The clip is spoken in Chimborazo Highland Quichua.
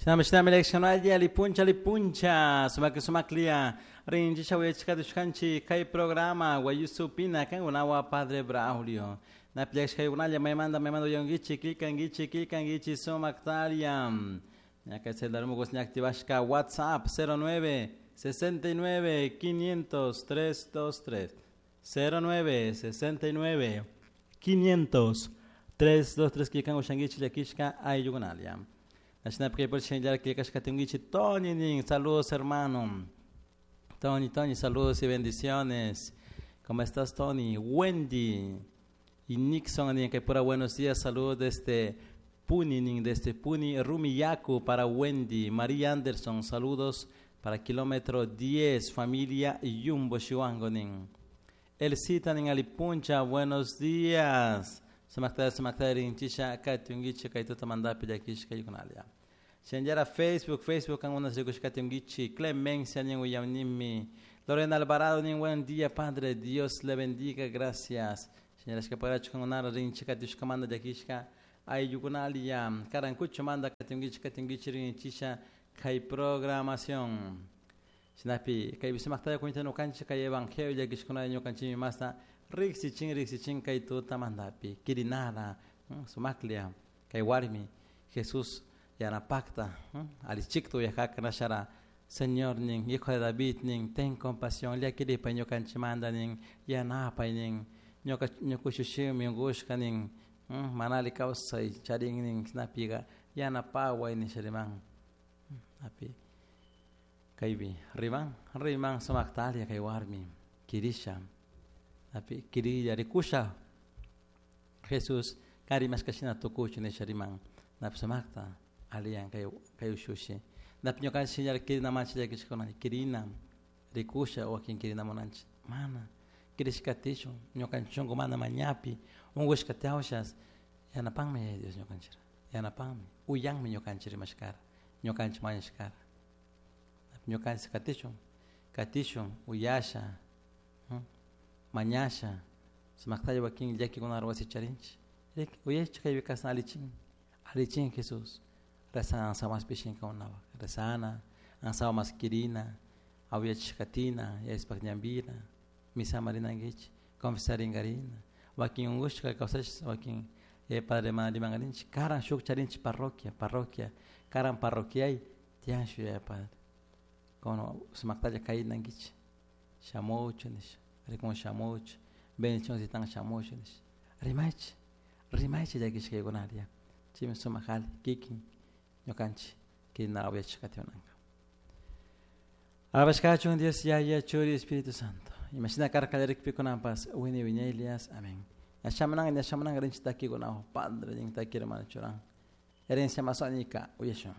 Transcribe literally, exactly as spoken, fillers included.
Shinami shinami leccionalli alipuncha alipuncha sumak sumaklia rinchisha uyachikatushkanchik kay programa Wayusupina kankunawan Padre Braulio. Napillaxkaykunalla maymanta maymanta uyankichik killkankichik killkankichik sumaktaria. Ñaka celular mugos ña activashka WhatsApp cero nueve sesenta y nueve quinientos tres dos tres cero nueve sesenta y nueve quinientos tres dos tres killkan ushankichik llakishka ayllukunalia. Tony nin, saludos hermano. Tony, Tony, saludos y bendiciones. ¿Cómo estás, Tony? Wendy y Nixon, nin, que pura buenos días, saludos desde Puni, nin, desde Puni, Rumiyaku para Wendy. María Anderson, saludos para kilómetro diez, familia Yumbo Chihuango, nin. Elcita, nin, Alipuncha, buenos días. Sumakta, sumakta, rinchisha, katiungichi, kaituta mandapi, yakish, kayukunalia. Shenjara Facebook, Facebook, algunas rikush katiungichi, Clemencia, nin, uyamnimi. Lorena Alvarado, nin, buen día, Padre, Dios le bendiga, gracias. Señora, escaparacho con una rinchi, katiushka, manda, yakishka, ayukunalia. Karancucho, manda, katiungichi, katiungichi, rinchisha, kay programación. Sinapi, kay bisumakta, kuinta no kanchi, kay evangelio, yakishkuna, ñukanchimi, masta. Rixichin, rixichin, kay tuta mandapi, kirinara, sumaklia, kay warmi, Jesús yanapakta, alichiktu yajaka nashara, Señor nin, hijo de David nin, ten compasión, llakiripa ñukanchimanda nin, yanapay nin, ñuka, ñukushushimi ungushka nin, manali kawsay charin nin, napiga, yanapaway nin shariman, napi, kaypi, riman, riman sumaktalia kay warmi, kirisha, napi, kirilla, rikusha, Jesús, karimashkashina tukuchu nisha riman, napi sumakta, aliyan kay, kay ushushi. Napi ñukanchik señal kirina manchi llakishkuna, kirina, rikusha, wakin kirina munanchik, mana, kirishkatishun, ñukanchik shunku mana mañapi, unkushkatiawshas, yanapanmi Yaya Dios ñukanchira, yanapanmi, uyanmi ñukanchik rimashkara, ñukanchik mañashkara. Napi ñukanchik katishun, katishun, uyasha, mañasha, sumaktalla wakin llakikunara wasi charinchik. Rik, uyashka kaypi kasna alichin, alichin Jesús. Rezana ansawa pishinkakunapak, rezana, ansawa mas kirina, awyachishkatina, yayaspak ñambina, misama rinankichik, confesarinkarina, wakin unkushka kawsash, wakin yaya padre mana rimankarinchik, karan shuk charinchik parroquia, parroquia, karan parroquiay, tiyan shuk yaya padre. Kono sumaktalla kaynankichik, shamuchu nisha, rikun shamuchu, bendición sitan shamuchu nisha, rimaychik, rimaychik llakishkaykunaria, chaymi sumak alli, kikin, ñukanchik, kirina awyachishkatinanka. Alabashkachun Dios Yaya, Churi, Espíritu Santo. Imagina karka llakikpikunampas, wini wiñaylias, amén. Ñashamananga, ñashamananga rinchik takikunawan, Padre, nin taki hermano churan. Herencia masónica, uyashun.